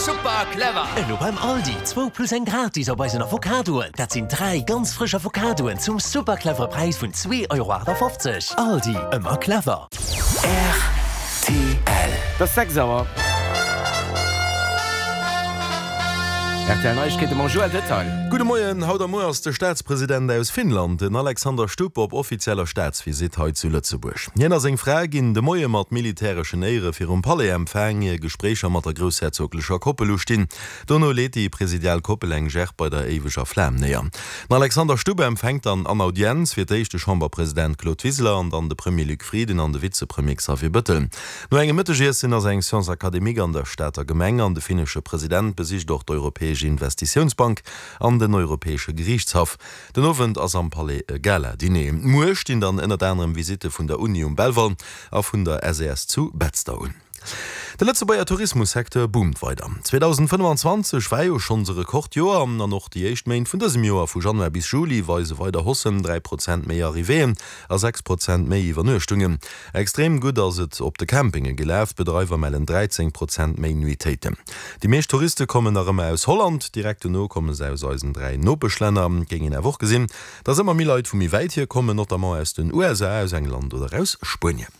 Super clever! Elo beim Aldi, zwou plus eng gratis op eisen Avocadoen. Dat sinn 3 ganz frësch Avocadoen zum super clevere Präis vun 2,58 Euro. Aldi, ëmmer clever. Rtl. Et ass 6 Auer. Rtl Neiegkeete mam Joël Detail. Gudde Moien, Haut a muer ass de Staatspresident aus Finnland, den Alexander Stubb, op offizieller Staatsvisitt hei zu Lëtzebuerg. Hien a seng Fra ginn de Moie mat militäreschen Éiere virum Palais empfaang, ier Gespréicher mat der groussherzoglecher Koppel ustinn. Dono leet déi presidial Koppel eng Gerb bei der éiweger Flam néier. Den Alexander Stubb empfänkt dann an Audienz fir d'éischt de Chamberpresident Claude Wiseler an dann de Premier Luc Frieden an de Vizepremier Xavier Bëttel. No engem Mëttegiessen ass eng Séance académique an der Stater Gemeng an de finnesche President besicht och d'Europäesch Investitiounsbank an den Europäesche Geriichtshaff. Den Owend ass am Palais e Gala-Diner. Muer stinn dann ënnert anerem Visitte vun der Uni um Belval a vun der SES zu Betzder un. De Lëtzebuerger Tourismussecteur boomt weider. 2025 war jo schonns e Rekordjoer an och déi éischt Méint vun dësem Joer, vu Januar bis Juli, weise weider Haussen, 3 Prozent méi Arrivéeën a 6 Prozent méi Iwwernuechtungen. Extrem gutt ass et op de Campinge gelaf, d'Bedreiwer mellen 13 Prozent méi Nuitéiten. Déi meescht Touriste kommen nach ëmmer aus Holland, direkt dono komme se aus eisen 3 Nopeschlänner. Et géing een awer och gesinn, dass ëmmer méi Leit vu méi wäit hier kommen, notamment aus den USA, aus England oder aus Spuenien.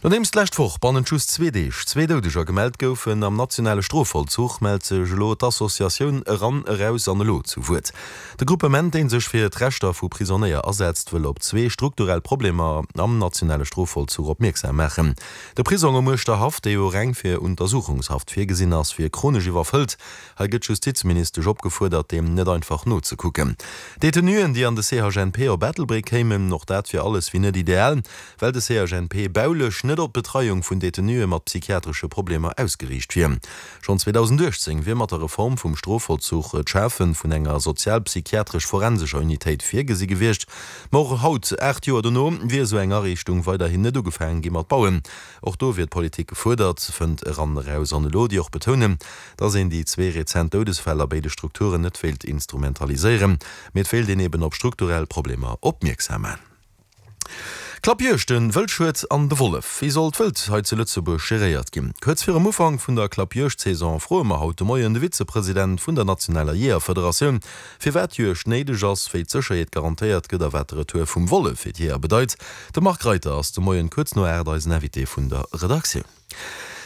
Nodeems d'lescht Woch bannent just zwee Deeg zwee Doudeger gemellt goufen am nationale Strofvollzuch, mellt sech elo d'Associatioun Eran, Eraus an Elo zu Wuert. De Gruppement, dee sech fir d'Rechter vu Prisonéier asetzt, wëll op zwee strukturell Problemer am nationale Strofvollzuch opmierksam maachen. De Prisong um Uerschterhaff, dee jo reng fir Untersuchungshaft virgesinn ass, wier chronesch iwwerfëllt. Hei gëtt d'Justizministesch opgefuerdert, deem net einfach nozekucken. Detenuen, déi an de CHNP op Ettelbréck kéimen, och dat wier alles wéi net ideal. Well de CHNP baulech net op d'Betreiung vun Detenue mat psychiatresche Problemer ausgeriicht wier. Schonn 2018 wier mat der Reform vum Strofvollzuch d'Schafe vun enger sozialpsychiatresch-forensescher Unitéit virgesi gewiescht. Ma och haut, 8 Joer dono, wier esou eng Ariichtung weiderhin net ugefaange gi mat bauen. Och do wier d'Politik gefuerdert, fënnt Eran Eraus an Elo, déi och betounen, datt een déi zwee rezent Doudesfäll a béide Strukturen net wéilt instrumentaliséieren, mee et wéilt een eben op strukturell Problemer opmierksam man. Klappjuegten, Wëldschued an de Wollef, Wéi soll d'Wëld hei zu Lëtzebuerg geréiert ginn? Kuerz virum Ufank vun der Klappjuegdsaison froe mer haut de Moien de Vizepresident vun der nationaler Jeeërfederatioun, firwat d'Juegd néideg ass, wéi d'Sécherheet garantéiert gëtt a wat de Retour vum Wollef fir d'Jeeër bedeit. De Marc Reiter ass de Moien kuerz no 8 eisen Invité vun der Redaktioun.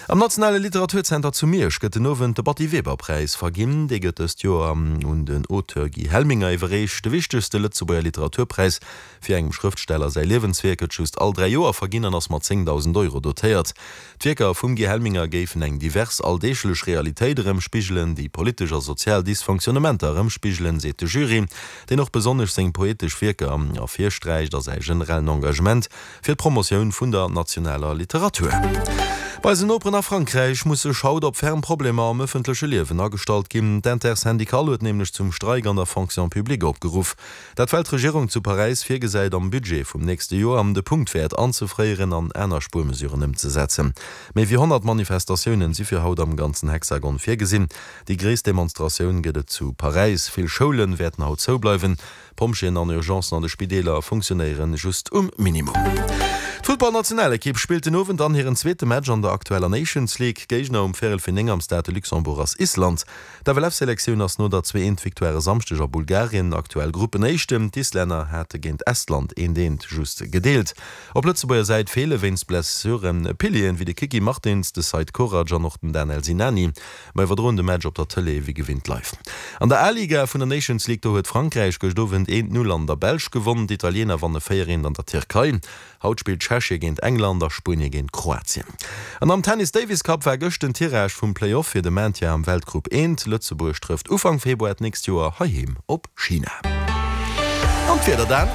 Am Nationale Literaturzenter zu Miersch gëtt den Owend de Batty Weber-Präis verginn. Dee gëtt dëst Joer un den Auteur Guy Helminger iwwerreecht. De wichtegste Lëtzebuerger Literaturpräis fir engem Schrëftsteller säi Liewenswierk gëtt just all 3 Joer verginn an ass mat 10.000 Euro dotéiert. D'Wierker vum Guy Helminger géifen eng divers alldeeglech Realitéit erëmspigelen, déi politesch a sozial Dysfonctionnementer erëmspigelen, seet de Jury, deen och besonnesch seng poetesch Wierker ervirsträicht a säi generellen Engagement Fir d'Promotioun vun der nationaler Literatur. Bei eisen Noperen a Frankräich muss sech haut op ferm Problemer am ëffentleche Liewen agestallt ginn. D'Intersyndicale huet nämlech zum Streik an der Fonction publique opgeruff. Dat well d'Regierung zu Paräis virgesäit am Budget vum nächste Joer de Punktwäert anzefréieren an aner Spuermesuren ëmzesetzen. Méi wéi 100 Manifestatiounen si fir haut am ganzen Hexagon virgesinn. Déi gréisst Demonstratioun gëtt et zu Paräis. Vill Schoule wäerten haut zoubleiwen. D'Pompjeeën an Urgencen an de Spideeler funktionéieren just um Minimum. D'Futtballnationalekipp spillt den Owend dann hiren zweete Match an der aktueller Nations League. Géigner um Véierel fir 9 am Stade de Luxembourg ass Island. D'FLF-Selektioun ass no der 2 eent Victoire e Samschdeg a Bulgarien aktuell Gruppenéischten. D'Islänner hate géint Estland eent eent just gedeelt. Op Lëtzebuerger Säit feele wéinst Blessure Pilieren wéi de Kiki Martins, de Seid Korac an och den Danel Sinani. Mer iwwerdroen de Match op der Tëlee wéi gewinnt live. An der A-Liga vun der Nations League, do huet Frankräich gëscht Owend 1, 0 an der Belsch gewonn. D'Italiener wanne 4, 1 an der Tierkei. Haut spillt Tschechie géint England a Spuenie géint Kroatien. An am Tennis Davis Cup war gëscht den Tirage vum Play-Off fir de Maintien am Weltgrupp 1. Lëtzebuerg trëfft Ufank Februar d'nächst Joer heiheem op China. An d'Wieder dan?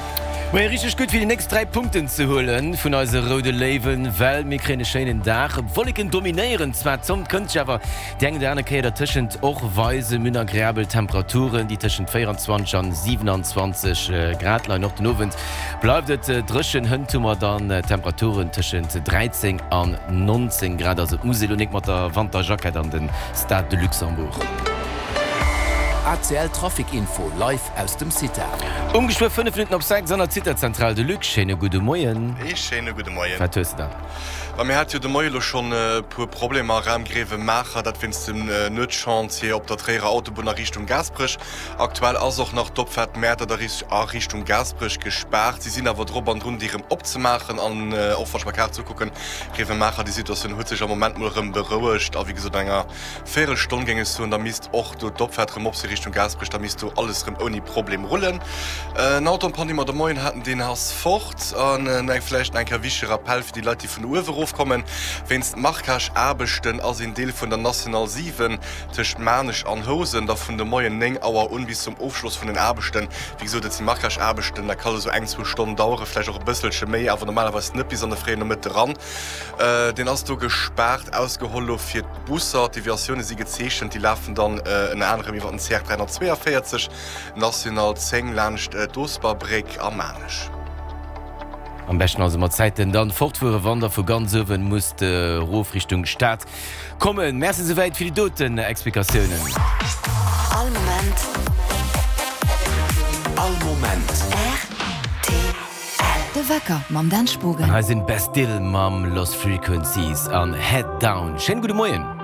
Moien, richteg gutt fir déi nächst 3 Punkten ze huelen vun eise roude Léiwen, well mir kréien e schéinen Dag. Wolleken dominéieren zwar, d'Sonn kënnt sech awer déi eng oder aner Kéier dertëschent och weisen. Mir hunn agreabel Temperaturen, déi tëschent 24 an 27 Grad leien. Och den Owend bleift et dréchen, hënt hu mer dann Temperaturen tëschent 13 an 19 Grad. Also et muss ee lo nik mat der Wanterjackett an den Stade de Luxembourg. ACL Trafic Info live aus dem CITA. Um geschwë 5 Minutten op 6 an der CITA-Zentral. De Luc, schéine gudde Moien. Ee schéine gudde Moien. Wat hues de dann? Ma mir hate jo de Moie lo schonn e puer Problemer Raum Grevenmacher, dat wéinst dem Nuetschantier op der Tréierer Autobunn a Richtung Gaasperech. Aktuell ass och nach d'Opfaart Mäertert a Richtung Gaasperech gespaart. Si sinn awer drop an drun, déi erëm opzemaachen. An och wann ech mer Kaart ukucken, Grevenmacher, déi Situatioun huet sech am Moment mol erëm berouegt a wéi gesot an enger Véierelstonn géing ech soen, da misst och do d'Opfaart rëm op si Richtung Gaasperech, da misst do alles rëm ouni Problem rullen. En Auto en panne, dee mer de Moien haten, deen ass fort. An eng vläicht nach eng Kéier wichtege Rappell fir déi Leit, déi vun uewe erofkommen, Wéinst Marquage-Aarbechten ass een Deel vun der National 7 tëscht Maarnech an Housen da vun de Moien 9 Auer un bis zum Ofschloss vun den Aarbechten, wéi gesot, et si Marquage-Aarbechten, dat kann esou eng, zwou Stonnen daueren, vläicht och e bësselche méi, awer normalerweis net bis an de fréien Nomëtte ran. Deen ass do gespaart, ausgeholl lo fir d'Busser. D'Deviatioune si gezeechent, déi lafen dann ënner anerem iwwer den CR 342, National 10, laanscht d'Osperbréck a Maarnech. Am beschten also mat Zäiten dann fortfueren, wann der vu ganz uewen musst erof Richtung Stad kommen. Merci souwäit fir déi doten Explikatiounen. All Moment. All Moment. Rtl. De Wecker mam Dan Spogen. An hei sinn Bastille mam Lost Frequencies an Head Down. Schéine gudde Moien.